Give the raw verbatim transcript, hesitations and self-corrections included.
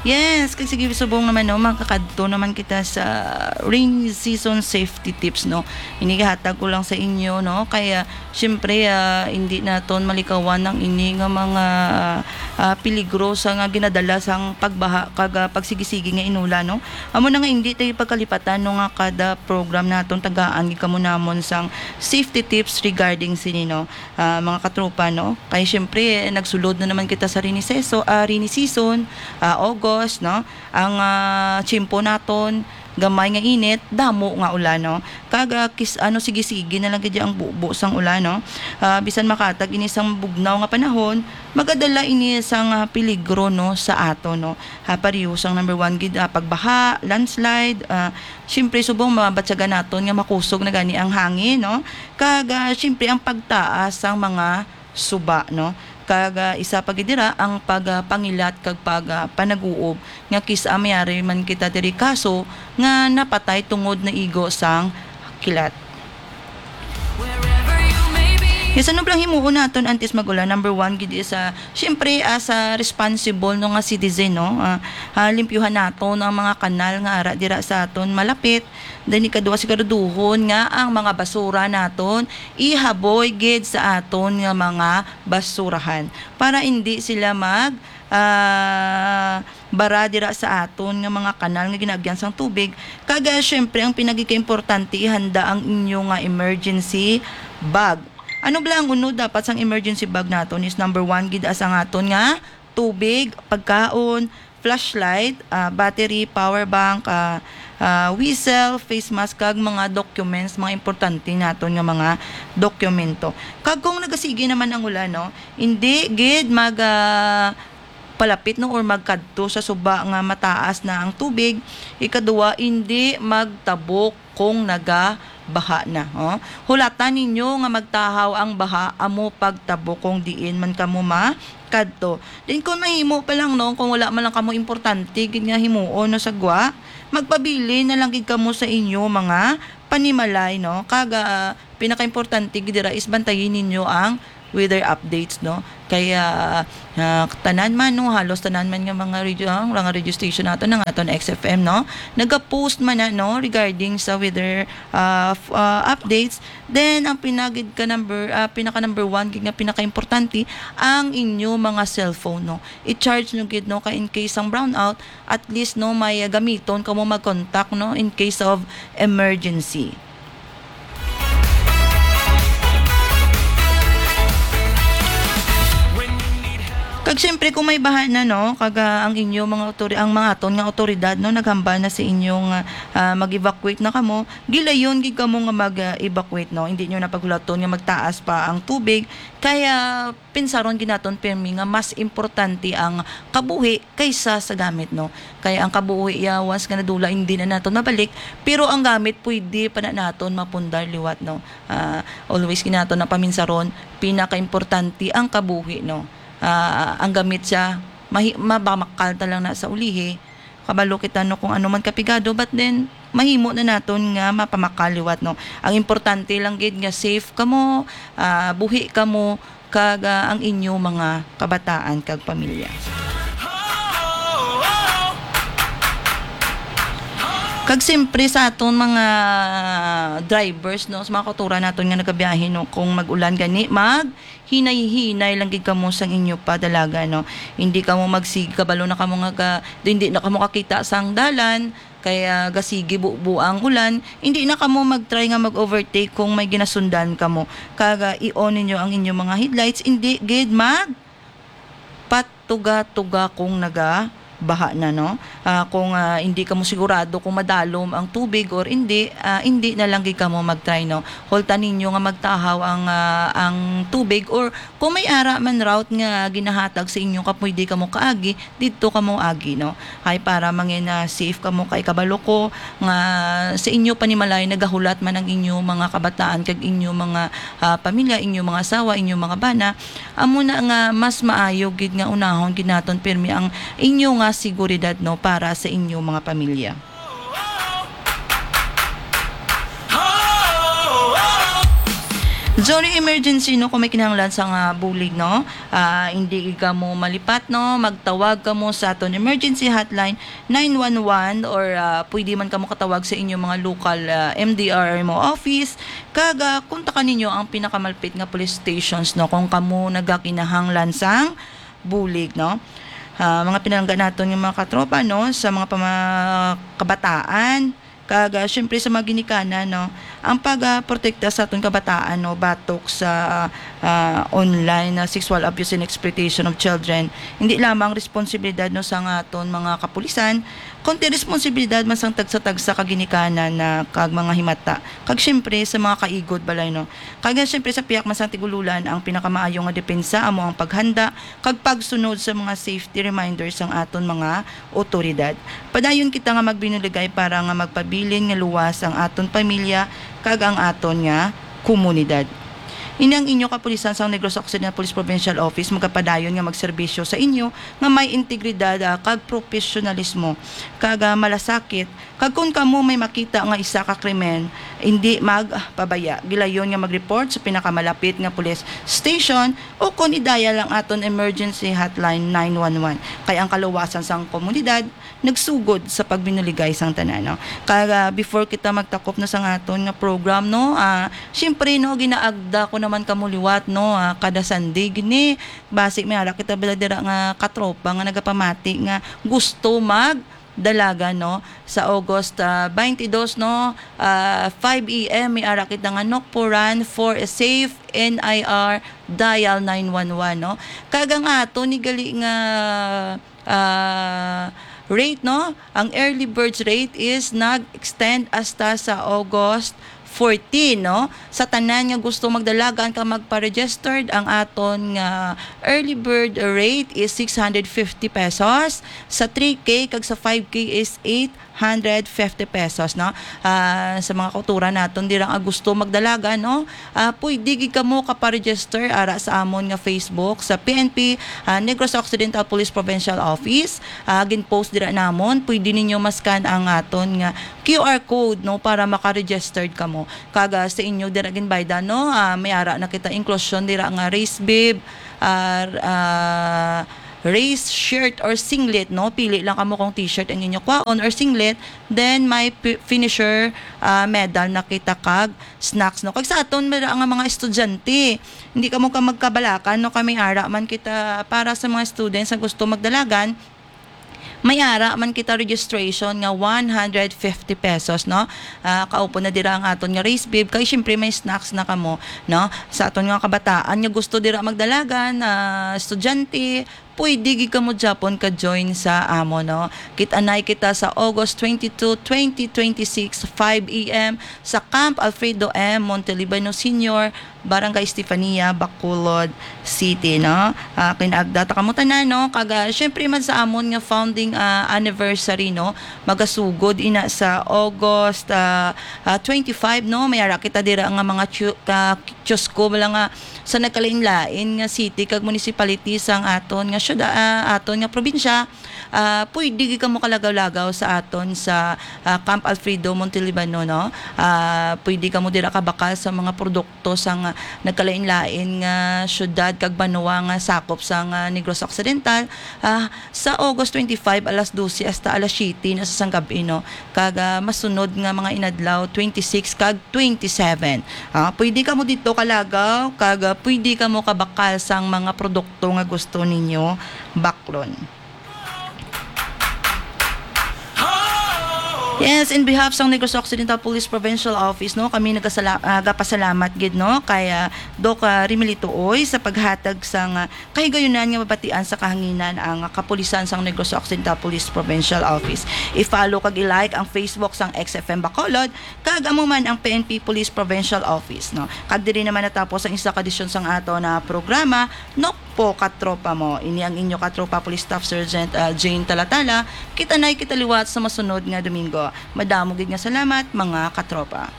Yes, kag sige, subong naman, no, makakadto naman kita sa rainy season safety tips, no. Ini gihatag ko lang sa inyo, no, kaya siyempre, ah, hindi naton malikawan ang ini nga mga, ah, peligro sa nga ginadala sang pagbaha kag, ah, pagsigisigi nga inula, no. Amo na nga hindi tayo pagkalipatan, no, nga kada program naton tagaan gid kamo namon sang safety tips regarding sini, no, ah, mga katropa, no. Kay siyempre nagsulod na naman kita sa rainy season, ah, rainy season, ah, August, no. Ang, ah, tiyempo naton, gamay nga init, damo nga ulan, no? Kag, ah, kis-, ano, sige-sige na lang gid ang bubo sang ulan, no? Ah, bisan makatag ini sang bugnaw nga panahon, magadala ini sang, ah, peligro, no, sa aton, no? Ah, pareho sang number one gid, ah, pagbaha, landslide, ah, siyempre, subong mabatyagan naton nga makusog na gani ang hangin, no? Kag, ah, siyempre, ang pagtaas sang mga suba, no? Kag, ah, isa pa gid dira ang pag, ah, pangilat kag pag, ah, panaguob nga kis-a mayari man kita diri kaso nga napatay tungod naigo sang kilat. Yes, ano bala ang himuon naton antes mag-ulan? Number one gid is, ah, siyempre, as a responsible, no, nga citizen, no, ah, ah, limpyuhan naton ang mga kanal nga ara dira sa aton malapit. Then, ikaduha, siguraduhon nga ang mga basura naton ihaboy gid sa aton nga mga basurahan para hindi sila mag, ah, bara dira sa aton nga mga kanal nga ginaagyan sang tubig. Kag, ah, syempre, ang pinagikaimportante, ihanda ang inyo nga emergency bag. Ano bala ang unod dapat sang emergency bag naton is number one gid as ang aton nga tubig, pagkaon, flashlight, ah, battery, power bank, ah, ah, whistle, face mask, kag mga documents, mga importante naton nga mga dokumento. Kag kung nagasigi naman ang ulan, no, hindi gid mag, ah, palapit, no, or magkadto sa suba nga mataas na ang tubig. Ikaduha, hindi magtabok kung nagabaha na, oh. Hulata ninyo nga magtahaw ang baha amo pagtabok kung diin man kamo makadto. Then kung mahimo pa lang, no, kung wala man lang kamo importante gid nga himuon, no, sa gwa, magpabilin na lang gid kamo sa inyo mga panimalay, no. Kag, ah, pinakaimportante gid dira is bantayin ninyo ang weather updates, no? Kaya, ah, tanan man, no, halos tanan man nga mga radio, ah, mga radio station nato, ng aton X F M, no? Nagapost man na, no, regarding sa weather, ah, f-, ah, updates. Then, ang pinagid ka number, ah, pinaka number one, gid nga pinakaimportante, ang inyo mga cellphone, no? I-charge nyo gid, no, kay in case ang brownout, at least, no, may, ah, gamiton kamo mag-contact, no, in case of emergency. Kag siyempre, kung may baha na, no, kag, ah, ang inyo mga autori-, ang mga aton nga autoridad, no, naghambal na sa inyo nga, ah, mag-evacuate na kamo, gilayon gid kamo nga mag, ah, evacuate, no. Hindi nyo na paghulaton nga magtaas pa ang tubig, kaya pinsaron gid naton pirmi nga mas importante ang kabuhi kaysa sa gamit, no? Kay ang kabuhi, ya, once nga nadula, hindi na naton mabalik, pero ang gamit, pwede pa na naton mapundar liwat, no? Ah, always gid naton na paminsaron, pinakaimportante ang kabuhi, no? Ah, ang gamit siya, mahi-, mabamakal ta lang na sa ulihi. Kabalo kita, no, kung ano man kapigado, but then, mahimo na naton nga mapamakal liwat, no? Ang importante lang gid nga safe kamo, ah, buhi kamo, kag, ah, ang inyo mga kabataan kag pamilya. Kag siyempre sa aton mga drivers, no, sa mga kautoran naton nga nagabiyahe, no, kung mag-ulan gani, maghinay-hinay lang gid kamo sang inyo padalagan, no. Hindi kamo magsig-, kabalo na kamo nga ga-, hindi na kamo kakita sang dalan, kaya gasigi bubo ang ulan, hindi na kamo mag-try nga mag-overtake kung may ginasundan kamo. Kag, ah, i-on ninyo ang inyong mga headlights, hindi gid magpatuga-tuga kung nagabaha na, no? Ah, kung, ah, hindi kamo sigurado kung madalom ang tubig or hindi, ah, hindi na lang gid kamo mag-try, no? Holta ninyo nga magtahaw ang, ah, ang tubig, or kung may ara man route nga ginahatag sa inyo ka pwede kamo kaagi, didto kamo agi, no? Ay para mangin, ah, safe kamo, kay kabalo ko nga sa inyo panimalay nagahulat man ang inyo mga kabataan kag inyo mga, ah, pamilya, inyo mga asawa, inyo mga bana. Amo na nga mas maayo gid nga unahon gid naton pirmi ang inyo nga seguridad, no, para sa inyo mga pamilya. Sorry, emergency, no, kung may kinahanglan sa nga bulig, no, ah, hindi gid kamo malipat, no, magtawag kamo sa aton emergency hotline nine one one, or, ah, pwede man kamo katawag sa inyong mga local, ah, M D R mo office, kag, ah, kontakan ninyo ang pinakamalapit nga police stations, no, kung kamo nagakinahanglan sang bulig, no. Ah, mga pinalangga naton nga mga katropa, no, sa mga pama-, kabataan, kag, ah, syempre sa mga ginikanan, no, ang pag, ah, protekta sa aton kabataan, no, batok sa, ah, online na sexual abuse and exploitation of children, hindi lamang responsibilidad, no, sa nga aton mga kapulisan, kundi responsibilidad man sang tagsa-tagsa ka ginikanan na kag mga himata, kag syempre sa mga kaigod balay, no. Kag, ah, syempre sa pihak man sang tigululan, ang pinakamaayo nga depensa amo ang paghanda kag pagsunod sa mga safety reminders sang aton mga otoridad. Padayon kita nga magbinuligay para nga magpabilin nga luwas ang aton pamilya kag ang aton nga komunidad. Ini ang inyo kapulisan sang Negros Occidental Police Provincial Office magapadayon nga magserbisyo sa inyo nga may integridad, ah, kag propesyonalismo, kag, ah, malasakit. Kag kon kamo may makita nga isa ka krimen, hindi magpabaya. Gilayon nga mag-report sa pinakamalapit nga police station o kon i-dial ang aton emergency hotline nine one one. Kay ang kaluwasan sang komunidad nagsugod sa pagbinuligay sang tanan, no? Kag, ah, before kita magtakop na sa aton nga program, no, ah, siyempre, no, ginaagda ko naman kamo liwat, no, ah, kada Sunday gini, basi may ara kita bala dira nga katropa nga nagapamati nga gusto magdalagan, no, sa August, ah, twenty-two, no, ah, five A M, may ara kita nga Nokporan for a safe N I R, dial nine one one, no. Kag ang ato ni gali nga, ah, rate, no, ang early birds rate is nag-extend hasta sa August fourteen, no. Sa tanan nga gusto magdalagan ka magpa-registered, ang aton nga early bird rate is six hundred fifty pesos, sa three K kag sa five K is eight hundred fifty pesos, no. Ah, sa mga kauturan naton dira nga gusto magdalagan, no, ah, pwede gid kamo kaparegister ara sa amon nga Facebook sa P N P, ah, Negros Occidental Police Provincial Office. Ah, gin-post dira namon, pwede ninyo ma-scan ang aton nga Q R code, no, para maka-registered kamo. Kag, ah, sa inyo dira ginbaydan, no, ah, may ara na kita inclusion dira nga race bib, ah, ah, race shirt or singlet, no? Pili lang kamo kung t-shirt ang inyo kwaon or singlet, then may pi-, finisher, ah, medal na kita kag snacks, no? Kag sa aton, may ara nga mga estudyante, hindi kamo ka magkabalakan, no? Kami ara man kita para sa mga students nga gusto magdalagan, may ara man kita registration nga one hundred fifty pesos, no? Ah, kaupod na dira ang aton nga race bib, kay siyempre may snacks na kamo, no? Sa aton nga kabataan nga gusto dira magdalagan, ah, estudyante, pwede gid kamo gyapon ka-join sa amo, no? Kit-anay kita sa August twenty-two, twenty twenty-six, five A M sa Camp Alfredo M. Montelibano Senior, Barangay Estefania, Bacolod City, no? Ah, kinaagda ta kamo tanan, no? Kag, ah, syempre man sa amon nga founding, ah, anniversary, no? Magasugod ina sa August, ah, ah, twenty-five, no? May ara kita dira nga mga chu-, ka-, kiosko, wala nga sa nagkalain-lain nga city kag municipality sang aton nga syuda-, ah, aton nga probinsya. Ah, pwede gid kamo kalagaw-lagaw sa aton sa, ah, Camp Alfredo Montelibano, no? Ah, pwede kamo dira kabakal sa mga produkto sang nagkalain-lain nga syudad kag banwa nga sakop sang Negros Occidental, ah, sa August twenty-five, alas dose hasta alas siyete na sa sanggab-i, no? Kag, ah, masunod nga mga inadlaw, twenty-six kag twenty-seven. Ah, pwede kamo didto kalagaw, kag, ah, pwede kamo kabakal sang mga produkto nga gusto ninyo baklon. Yes, in behalf sang Negros Occidental Police Provincial Office, no, kami nagasala-, ah, gapasalamat gid, no, kay, ah, Doc, ah, Remilito Uy sa paghatag sang, ah, kahigayunan nga mabatian sa kahanginan ang kapulisan sang Negros Occidental Police Provincial Office. I-follow kag i-like ang Facebook sang X F M Bacolod, kag amo man ang P N P Police Provincial Office, no. Kag diri naman natapos ang isa ka edisyon sang aton na programa, Nokpo Katropa Mo. Ini ang inyo katropa Police Staff Sergeant, ah, Jane Talatala. Kita-nay kita liwat sa masunod nga Domingo. Madamo gid nga salamat, mga katropa.